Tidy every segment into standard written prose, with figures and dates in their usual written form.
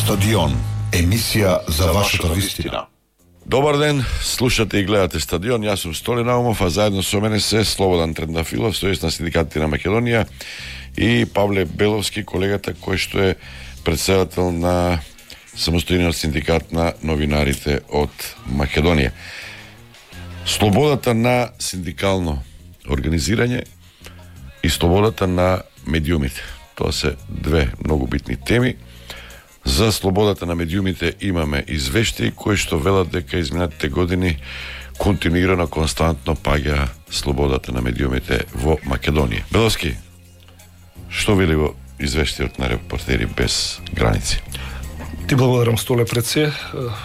Стадион, емисија за вашата вистина. Добар ден, слушате и гледате Стадион. Јас сум Столи Наумов, а заедно со мене се Слободан Трендафилов, сојуз на синдикатите на Македонија, и Павле Беловски, колегата кој што е председател на самостојниот синдикат на новинарите од Македонија. Слободата на синдикално организирање и слободата на медиумите. Тоа се две многу битни теми. За слободата на медиумите имаме извештаи кои што велат дека изминатите години континуирано, константно паѓа слободата на медиумите во Македонија. Беловски, што вели во извештајот на Репортери без граници? Ти благодарам, Столе, пред се.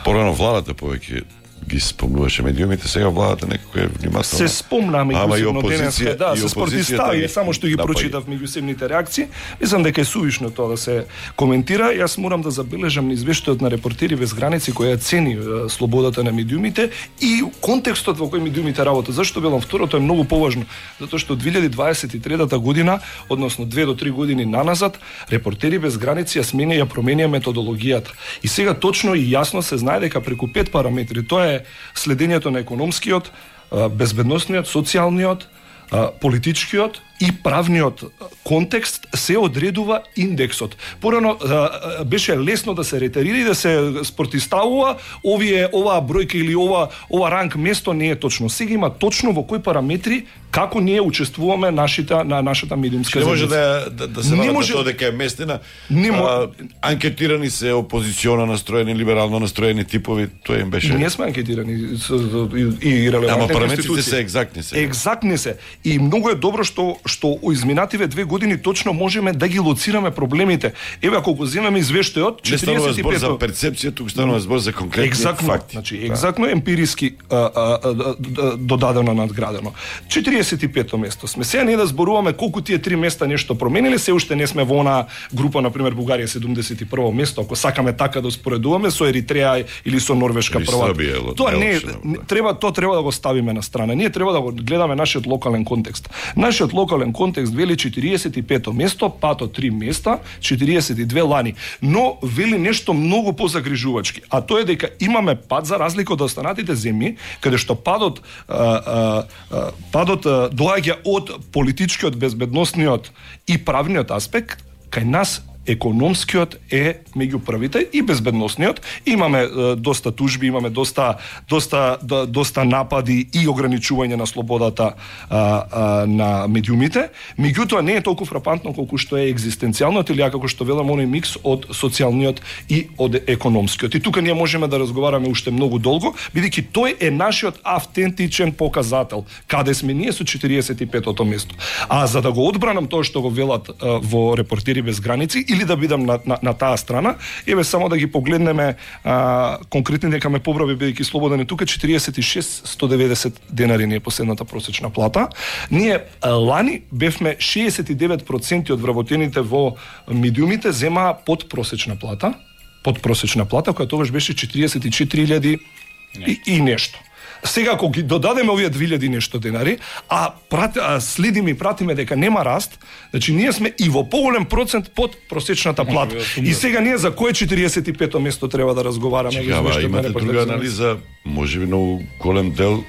Порано владата повеќе ги спомнуваше медиумите, сега владата некако е внимателна. Се спомна меѓусебно денеска, да, се спротивстави, само што ги прочитав меѓусебните реакции. Мислам дека е сувишно тоа да се коментира. Јас морам да забележам на извештајот на Репортери без граници која цени слободата на медиумите и контекстот во кој медиумите работат. Зашто велам второто е многу поважно? Затоа што 2023 година, односно 2 до 3 години наназад, Репортери без граници ја сменија, ја променија методологијата. И сега точно и јасно се знае дека преку 5 параметри, тоа е следењето на економскиот, безбедносниот, социјалниот, политичкиот и правниот контекст, се одредува индексот. Порано беше лесно да се ретерира и да се спротивставува оваа бројка или ова ранг место не е точно. Сега има точно во кои параметри како ние учествуваме на нашата медиумска заедница. Не може да се вара тоа дека е местина. Анкетирани се опозициона настроени, либерално настроени типови, тоа им беше. Ние сме анкетирани и релевантни институции. Параметрите се екзактни се. Екзактни се. И многу е добро што изминативе 2 години точно можеме да ги лоцираме проблемите. Еве ако го земеме извештајот, 45 не станува збор за перцепција, туку станува збор за конкретни факти. Значи екзактно емпириски додадено, надградено. 45-то место сме. Сега не да зборуваме колку тие 3 места нешто промениле, се уште не сме во она група, на пример Бугарија 71-во место, ако сакаме така да успоредуваме со Еритреја или со Норвешка прва. Тоа не треба да го ставиме на страна. Ние треба да го гледаме нашиот локален контекст. Нашиот локален контекст вели 45-то место, пато 3 места, 42 лани. Но вели нешто многу позагрижувачки, а тоа е дека имаме пад за разлика од останатите земји, каде што падот доаѓа од политичкиот, безбедносниот и правниот аспект, кај нас економскиот е меѓу првите и безбедносниот. Имаме доста тужби, имаме доста напади и ограничување на слободата на медиумите. Меѓутоа не е толку фрапантно колку што е екзистенцијалниот или како што велам оној микс од социјалниот и од економскиот. И тука ние можеме да разговараме уште многу долго, бидејќи тој е нашиот автентичен показател каде сме ние со 45-тото место. А за да го одбранам тоа што го велат во Репортери без граници или да бидам на таа страна, еве само да ги погледнеме конкретни, дека ме побрави бидејќи Слободан е тука, 46.190 денари не е последната просечна плата. Ние лани бевме 69% од вработените во медиумите земаа подпросечна плата, која тогаш беше 44.000 и нешто. Сега ако ги додадеме овие 2000 нешто денари, следиме и пратиме дека нема раст, значи ние сме и во поголем процент под просечната плата. И сега ние за кое 45-то место треба да разговараме? Имате друга анализа, можеби многу голем дел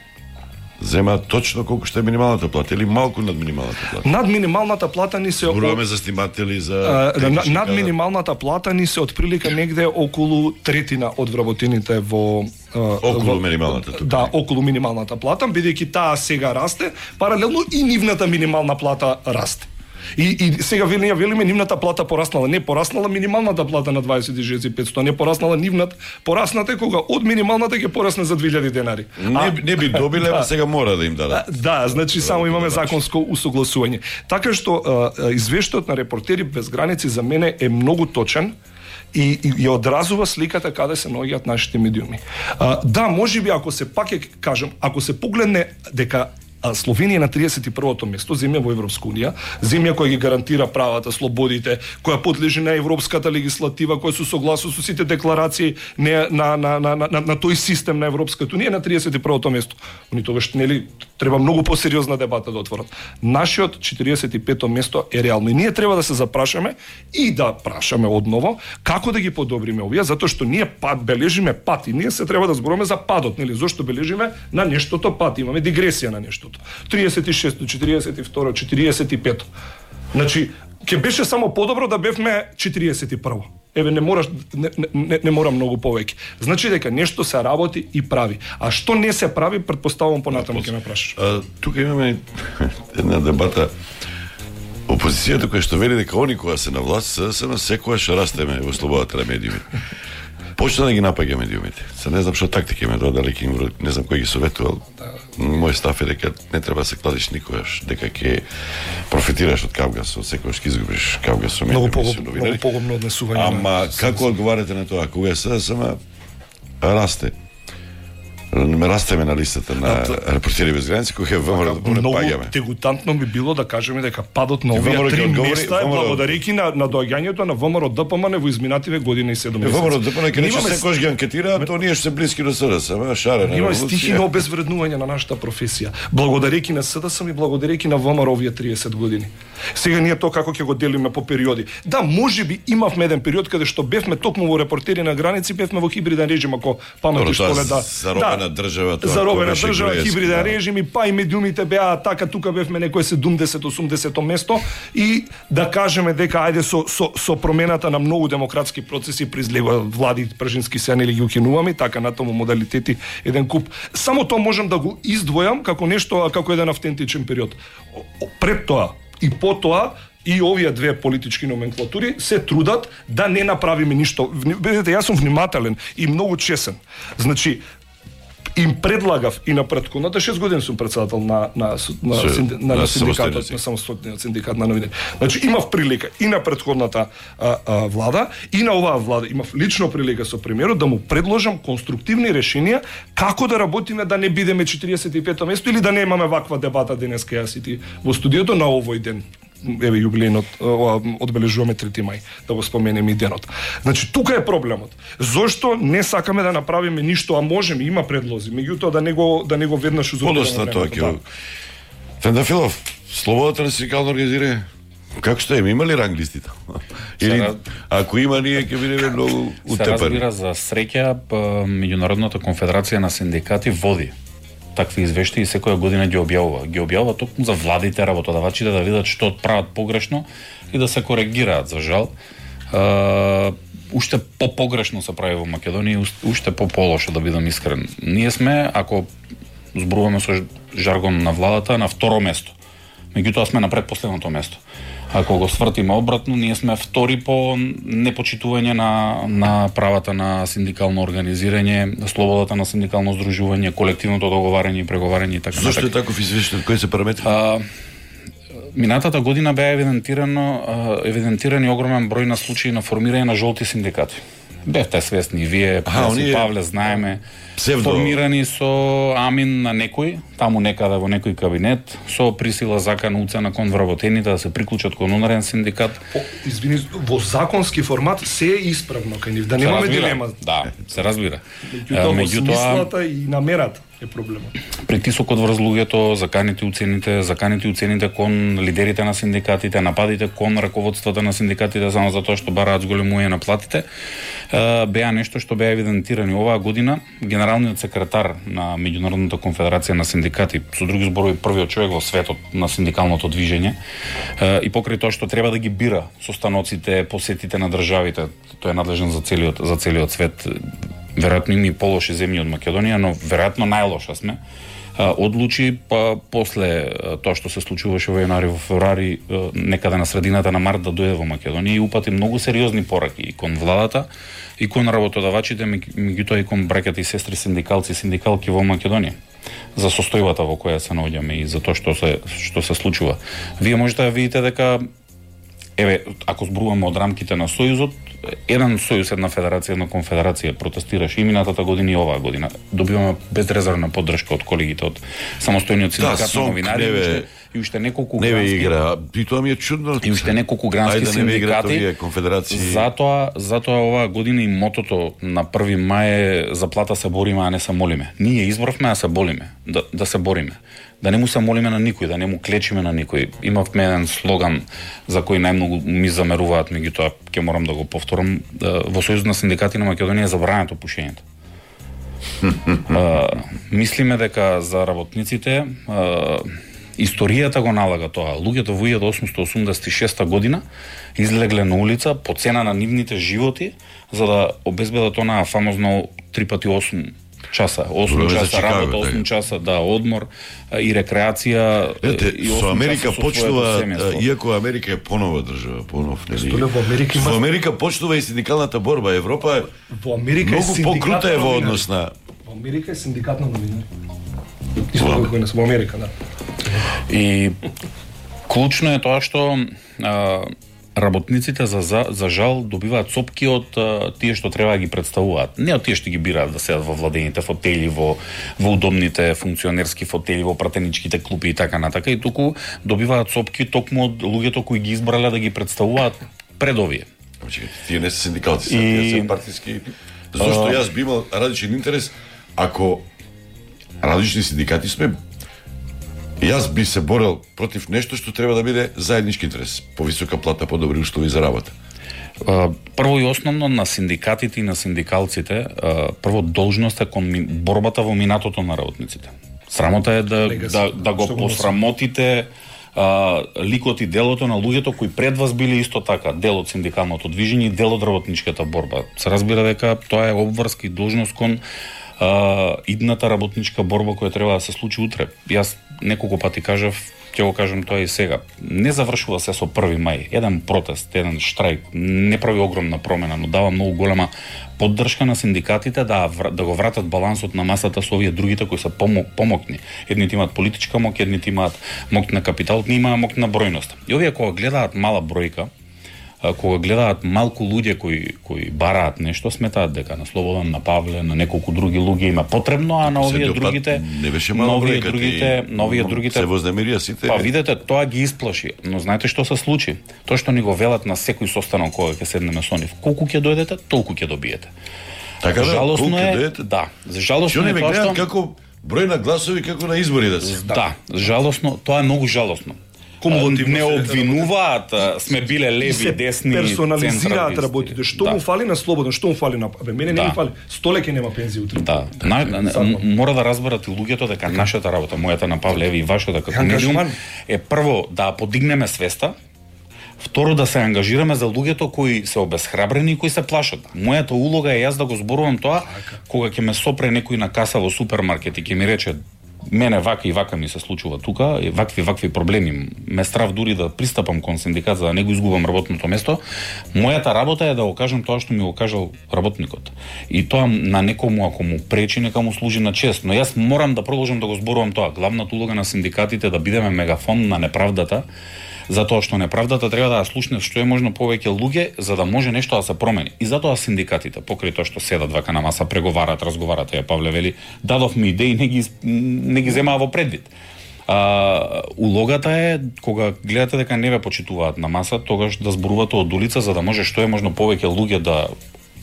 зема точно колку што е минималната плата или малку над минималната плата. Над минималната плата ни се зборуваме за сниматели, за над минималната плата ни се отприлика негде околу третина од вработените во околу минималната тука. Да, околу минималната плата, бидејќи таа сега расте, паралелно и нивната минимална плата расте. И сега ние велиме нивната плата пораснала, не пораснала минималната плата на 26.500, не пораснала нивната, порасната кога од минималната ќе порасне за 2000 денари. Не би добиле, а сега мора да им дадат. Да, значи само имаме законско усогласување. Така што извештајот на Репортери без граници за мене е многу точен и одразува сликата каде се наоѓаат нашите медиуми. Да, можеби ако се пак ќе кажам, ако се погледне дека А Словенија е на 31-то место, земја во Европска унија, земја која ги гарантира правата, слободите, која подлежи на европската легислатива, која се согласува со сите декларации на тој систем на Европската унија, на 31-то место. Они тогаш нели треба многу посериозна дебата да отворат. Нашиот 45-то место е реално и ние треба да се запрашаме и да прашаме одново како да ги подобриме овие, затоа што ние бележиме пат и ние се треба да зборуваме за падот, нели? Зошто бележиме на нештото пат, имаме дигресија на нештото. 36-то, 42-то, 45-то. Значи, ќе беше само подобро да бевме 41-во. Еве не мора многу повеќе. Значи дека нешто се работи и прави. А што не се прави, претпоставувам понатаму ќе ме прашаш. Тука имаме една дебата. Опозицијата која што вели дека они кога се на власт се на секојаш растеме во слободата на медиумите. Почна да ги напаѓа медиумите. Се не знам што тактика има, дали не знам кој ги советувал. Мој став е дека не треба да се кладиш никогаш, дека ќе профитираш од Кавгас, од секојаш ќе изгубиш Кавгас со медиуми. Многу погубно однесување. Ама како одговарате на тоа? Кога СДСМ расте? Не растеме на листата на Репортери без граници, кога ВМРО да паѓаме. Многу дегутантно би било да кажеме дека падот на овие три места е благодарејќи на доаѓањето на ВМРО ДПМН во изминативе година и 7 месеци. ВМРО ДПМН ќе рече секојаш ги анкетира, тоа ние што се блиски до СДСМ, шарена. Има стихи на обезвреднување на нашата професија. Благодарејќи на СДСМ и благодарејќи на ВМРО овие 30 години. Сега ние тоа како ќе го делиме по периоди. Да, можеби имавме еден период каде што бевме токму во Репортери на граници, бевме во хибриден режим, ако паметиш поле заробена држава, заробена држава, хибриден режим и па и медиумите беа така, тука бевме некој 70-80 место и да кажеме дека ајде со промената на многу демократски процеси призлева влади пржински се нели ги укинуваме, така натаму модалитети еден куп. Само тоа можам да го издвојам како нешто, како еден автентичен период. Пред тоа и потоа и овие две политички номенклатури се трудат да не направиме ништо. Бидете, јас сум внимателен и многу чесен. Значи, им предлагав и на претходната 6 години сум председател на синдикатот, на самостојниот синдикат на новинари. Значи имав прилика и на претходната влада и на оваа влада, имав лично прилика со премиерот да му предложам конструктивни решенија како да работиме да не бидеме 45-то место или да немаме ваква дебата денеска јас и ти во студиото на овој ден. Еве јубилејнот, одбележуваме 3 мај, да го споменеме и денот. Значи, тука е проблемот. Зошто не сакаме да направиме ништо, а можеме, има предлози, меѓутоа да не го веднаш узурпираме. Подоста тоа ќе. Фендафилов, слободата на синдикално организирање, како што има ли ранг листите? Или ако има, ние ќе бидеме многу утепани. Се разбира, за среќа, Меѓународната конфедерација на синдикати води такви извештаи и секоја година ги објавува. Ги објавува токму за владите, работодавачите да видат што прават погрешно и да се коригираат, за жал. Уште по-погрешно се прави во Македонија, уште по-лошо, да бидам искрен. Ние сме, ако зборуваме со жаргон на владата, на второ место. Меѓутоа сме на предпоследното место. Ако го свртиме обратно, ние сме втори по непочитување на правата на синдикално организирање, слободата на синдикално здружување, колективното договарање и преговарање и така натаму. Зошто е таков извештај? Кои се параметри? Минатата година беа евидентирани огромен број на случаи на формирање на жолти синдикати. Бевте свесни, вие, Павле, знаеме, формирани со амин на некој, таму некаде во некој кабинет, со присила закана уцена кон вработените да се приклучат кон онарен синдикат. Извини, во законски формат се е исправно кај нив, да немаме дилема. Да, се разбира. Меѓутоа, смислата и намерата е проблемот. Притисокот врз луѓето, заканите уцените кон лидерите на синдикатите, нападите кон раководствата на синдикатите само затоа што бараат зголемување на платите, беа нешто што беа евидентирани оваа година. Генералниот секретар на Меѓународната конфедерација на синдикати, со други зборови првиот човек во светот на синдикалното движење, и покрај тоа што треба да ги бира состаноците, посетите на државите, тој е надлежен за целиот свет. Веројатно има и полоши земји од Македонија, но веројатно најлоша сме. Одлучи после тоа што се случуваше во јануари, во февруари, некаде на средината на март да дојде во Македонија и упати многу сериозни пораки и кон владата, и кон работодавачите, меѓутоа и кон браќата и сестри синдикалци и синдикалки во Македонија за состојбата во која се наоѓаме и за тоа што се случува. Вие можете да видите дека еве, ако зборуваме од рамките на Сојузот, еден сојуз, една федерација, една конфедерација протестираше и минатата година и оваа година. Добиваме безрезервна поддршка од колегите од самостојниот синдикат на новинари и уште неколку грански игра. И тоа ми е чудно. И уште неколку грански синдикати. Затоа оваа година и мотото на 1 мај е заплата се бориме, а не се молиме. Ние избравме да се болиме, да се бориме. Да не му се молиме на никој, да не му клечиме на никој. Имавме еден слоган за кој најмногу ми замеруваат, меѓутоа ќе морам да го повторам. Во Сојузот на синдикати на Македонија е забрането пушењето. Мислиме дека за работниците историјата го налага тоа. Луѓето во 1886 година излегле на улица по цена на нивните животи за да обезбедат онаа фамозно 3x8 часа, 8 часа работа, 8 часа одмор и рекреација. И со Америка почнува, иако Америка е понова држава, понов, нели? Во Америка почнува и синдикалната борба. Европа во Америка многу покрута е во однос на. Во Америка е синдикат на новинари. Исто како и во Америка, да. И клучно е тоа што работниците за жал добиваат сопки од тие што треба да ги представуваат. Не од тие што ги бираат да седат во владените фотели, во удобните функционерски фотели, во пратеничките клупи и така натака, и туку добиваат сопки токму од луѓето кои ги избрале да ги представуваат пред овие. Тие не се синдикалци, тие се партиски. Зошто јас би имал различен интерес ако различни синдикати сме. Јас би се борел против нешто што треба да биде заеднички интерес, повисока плата, подобри услови за работа. Прво и основно на синдикатите и на синдикалците, прво должност е кон борбата во минатото на работниците. Срамота е да го посрамотите ликот и делото на луѓето кои пред вас биле исто така дел од синдикалното движење и дел од работничката борба. Се разбира дека тоа е обврска и должност кон идната работничка борба која треба да се случи утре. Јас неколку пати кажав, ќе го кажам тоа и сега. Не завршува се со 1 мај. Еден протест, еден штрајк не прави огромна промена, но дава многу голема поддршка на синдикатите да го вратат балансот на масата со овие другите кои се помокни. Едните имаат политичка моќ, едните имаат моќ на капитал, не имаат моќ на бројност. И овие кога гледаат мала бројка, кога гледаат малку луѓе кои бараат нешто, сметаат дека на Слободан, на Павле, на неколку други луѓе има потребно, а на овие другите не беше мало другите се вознемирија сите. Па видете, тоа ги исплаши, но знаете што се случи? Тоа што ни го велат на секој состанок кога ќе седнеме со нив. Колку ќе дојдете, толку ќе добиете. Така жалосно е, да. Жалосно е тоа што како број на гласови како на избори да се. Да, жалосно, тоа е многу жалосно. Не обвинуваат, сме биле леви, десни, персонализираат работите. Што му фали на Слободен, што му фали на мене не ми фали. Столеки нема пензија утре. Да. Мора да разберат и луѓето дека нашата работа, мојата на Павле Еви и вашата како медиум е прво да подигнеме свеста, второ да се ангажираме за луѓето кои се обесхрабрени и кои се плашат. Мојата улога е јас да го зборувам тоа кога ќе ме сопре некој на каса во супермаркет и ќе ми рече мене вака и вака ми се случува тука, и вакви проблеми. Ме страв дури да пристапам кон синдикат за да не го изгубам работното место. Мојата работа е да го кажам тоа што ми го кажал работникот. И тоа на некому ако му пречи, нека му служи на чест. Но јас морам да продолжам да го зборувам тоа. Главната улога на синдикатите е да бидеме мегафон на неправдата, затоа што неправдата треба да ја слушне што е можно повеќе луѓе за да може нешто да се промени. И затоа синдикатите, покрај тоа што седат вака на маса, преговарат, разговарат, Павле вели, дадовме идеи, не ги земаа во предвид. Улогата е кога гледате дека не ве почитуваат на маса, тогаш да зборувате од улица за да може што е можно повеќе луѓе да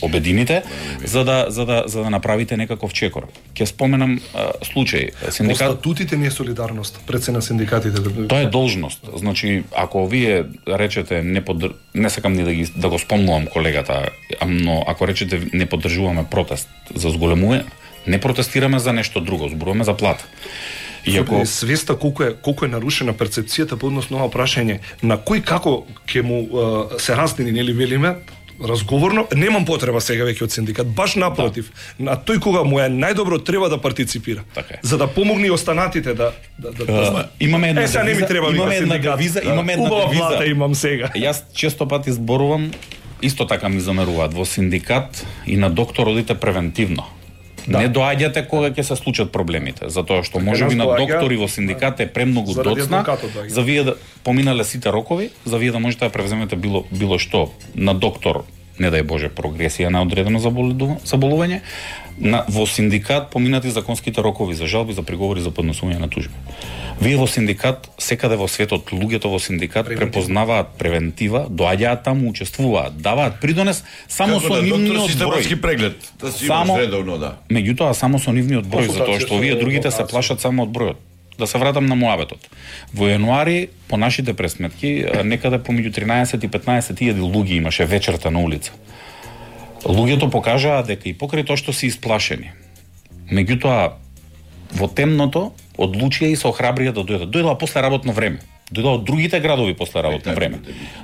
обедините за да направите некаков чекор. Ќе споменам случај. Статутите не е солидарност пред се на синдикатите. Тоа е должност. Значи, ако вие речете не сакам ни да го спомнувам колегата, но ако речете не поддржуваме протест за зголемување, не протестираме за нешто друго, зборуваме за плата. Иако свеста колку е нарушена перцепцијата по однос на ова прашање, на кој како ќе му се раздени, нели велиме, разговорно, немам потреба сега веќе од синдикат, баш напротив. На тој кога му е најдобро треба да партиципира. Така. За да помогне и останатите да имаме една сега не ми треба девиза, имаме една девиза имам сега. Јас често пати зборувам, исто така ми замеруваат во синдикат и на доктор одите превентивно. Не доаѓате кога ќе се случат проблемите, затоа што можеби на доктори во синдикат е премногу доцна за вие да поминале сите рокови, за вие да можете да превземете било што на доктор, не дај Боже, прогресија на одредено заболување, во синдикат поминати законските рокови за жалби, за приговори, за поднесување на тужби. Вие во синдикат, секаде во светот, луѓето во синдикат препознаваат превентива, доаѓаат таму, учествуваат, даваат придонес само со нивниот број. Преглед, да си имаш редовно, да. Меѓутоа само со нивниот број, затоа што овие другите се плашат само од бројот. Да се вратам на муабетот. Во јануари, по нашите пресметки, некаде помеѓу 13 и 15.000 луѓе имаше вечерта на улица. Луѓето покажаа дека и покрај тоа што се исплашени, меѓутоа во темното одлучија и се охрабрија да дојдат. Дојдоа после работно време. Дојдоа од другите градови после работно време.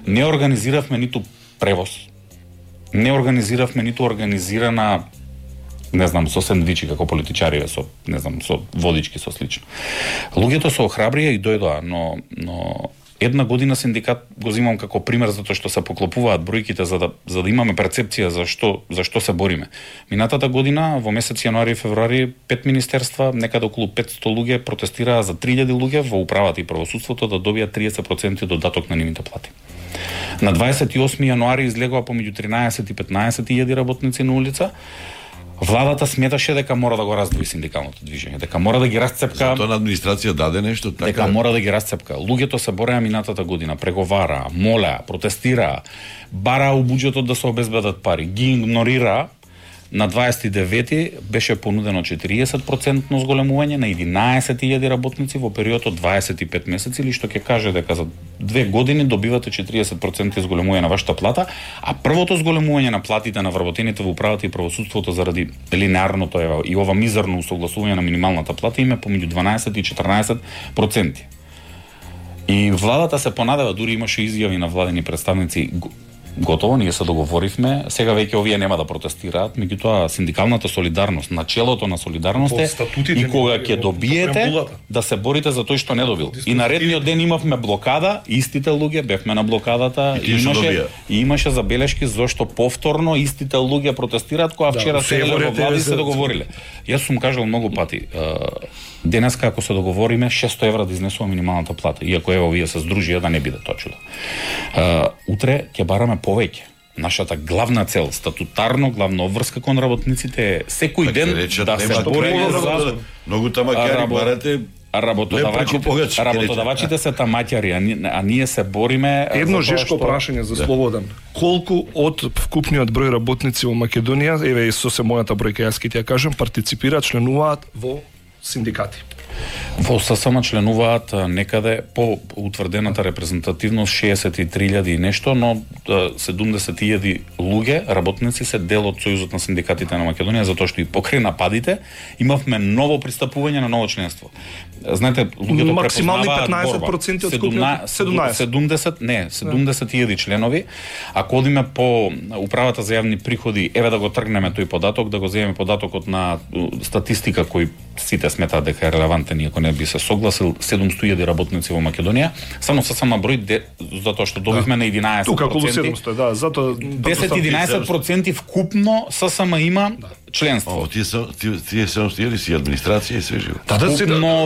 Не организиравме ниту превоз. Не организиравме ниту организирана, не знам, со сендвичи како политичариве, со, не знам, со водички, со слично. Луѓето се охрабрија и дојдоа, но една година синдикат го земам како пример затоа што се поклопуваат бројките за да имаме перцепција за што се бориме. Минатата година во месец јануари и февруари 5 министерства, некаде околу 500 луѓе протестираа за 3000 луѓе во управата и правосудството да добијат 30% додаток на нивните плати. На 28 јануари излегоа помеѓу 13 и 15.000 работници на улица. Владата сметаше дека мора да го раздвои синдикалното движење, дека мора да ги расцепка. Затоа на администрација даде нешто така. Дека мора да ги расцепка. Луѓето се бореа минатата година, преговараа, молеа, протестираа, бараа у буџетот да се обезбедат пари, ги игнорираа. На 29 беше понудено 40% зголемување на 11.000 работници во период од 25 месеци, или што ќе каже дека за 2 години добивате 40% зголемување на вашата плата, а првото зголемување на платите на вработените во управата и правосудството заради линеарното и ова мизерно усогласување на минималната плата име помеѓу 12 и 14%. И владата се понадева, дури имаше изјави на владени представници, готово, ние се договоривме, сега веќе овие нема да протестираат, меѓутоа синдикалната солидарност, начелото на солидарност е и кога ќе добиете да се борите за тој што не добил. И наредниот ден имавме блокада, истите луѓе бевме на блокадата, и имаше забелешки зашто повторно истите луѓе протестираат кога вчера седеле во влади се договориле. Јас сум кажал многу пати, денеска ако се договориме 600 евра да изнесува минималната плата, иако ево вие се здружија да не биде тоа чудо. Утре ќе бараме повеќе. Нашата главна цел, статутарно главна обврска кон работниците е секој ден да се бориме за многу тамакари барате. Работодавачите се тамаќари, а ние се бориме. Едно жешко прашање за Слободан. Колку од вкупниот број работници во Македонија, еве со се мојата бројка, јас ќе ти ја кажам, партиципираат, членуваат во синдикати? Во ССМ членуваат некаде по утврдената репрезентативност 63.000 и нешто, но 70.000 луѓе, работници се дел од Сојузот на синдикатите на Македонија, затоа што и покрај нападите имавме ново пристапување на ново членство. Знаете, луѓето максимални 15% од скупниот 70.000 членови. Ако одиме по управата за јавни приходи, еве да го тргнеме тој податок, да го земеме податокот на статистика кој сите сметаат дека е релевантен, иако не би се согласил, 700.000 работници во Македонија, само со сама број затоа што добивме на 11%. Тука околу 700, да, затоа 10-11% вкупно ССМ има членство. Тие 700.000 си администрација и се живо.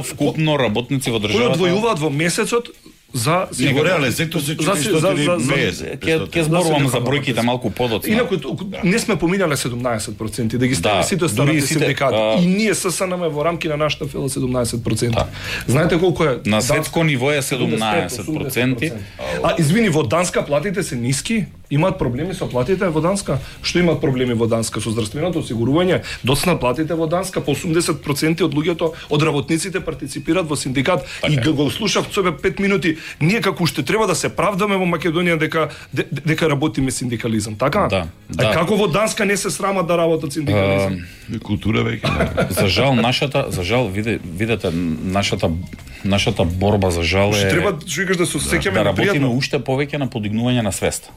Вкупно работници во државата. Кои одвојуваат во месецот за реален сектор се 450. Ќе зборувам за бројките малку подоцна. Инаку не сме поминале 17%, да ги стави сите останати синдикати. И ние ССНМ во рамки на нашата фела 17%. Знаете колку е? На светско ниво е 17%. Извини, во Данска платите се ниски? Имаат проблеми со платите во Данска? Што имаат проблеми во Данска со здравственото осигурување? Доцна платите во Данска, по 80% од луѓето, од работниците партиципираат во синдикат. И го слушав себе 5 минути. Ние како уште треба да се правдаме во Македонија дека работиме синдикализам, така? Да. Како во Данска не се срамат да работат синдикализам? Култура веќе. За жал, видете, нашата борба за жал е треба да се сеќаме да работиме уште повеќе на подигнување на свеста.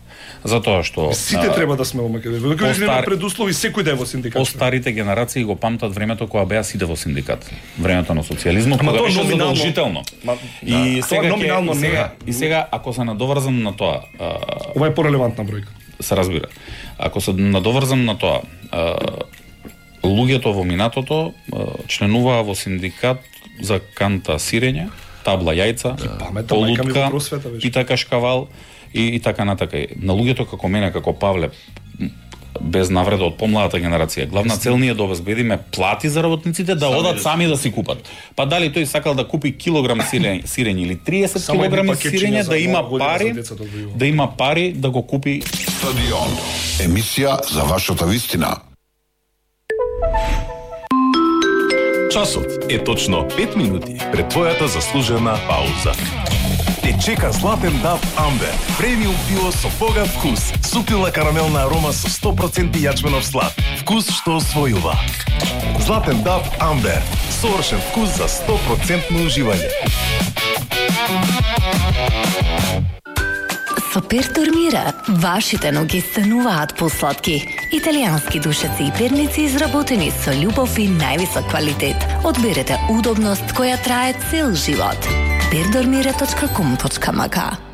Затоа што сите треба да сме во Македонија. Дека нема предуслови секој да е во синдикат. Постарите генерации го памтат времето кога беа сите во синдикат. Времето на социјализмот, кога беше задолжително. И сега ако се надоврзам на тоа, ова е порелевантна бројка. Се разбира. Ако се надоврзам на тоа, луѓето во минатото членуваа во синдикат за канта сирење, табла јајца, полутка, пита кашкавал и така натака. На луѓето како мене, како Павле, без навреда од помладата генерација, главна цел ни е да обезбедиме плати за работниците да одат сами да си купат. Па дали тој сакал да купи килограм сирење или 30 килограми сирење, да има пари да го купи. Стадион. Емисија за вашата вистина. Часот е точно 5 минути пред твојата заслужена пауза. Те чека Златен Дав Амбер, премиум пиво со богат вкус, суптилна карамелна арома со 100% јачменов слад, вкус што освојува. Златен Дав Амбер, совршен вкус за 100% уживање. Со Пертормира, вашите ноги стануваат посладки. Италијански душеци и перници изработени со љубов и највисок квалитет. Одберете удобност која трае цел живот. Perdormira.com.mk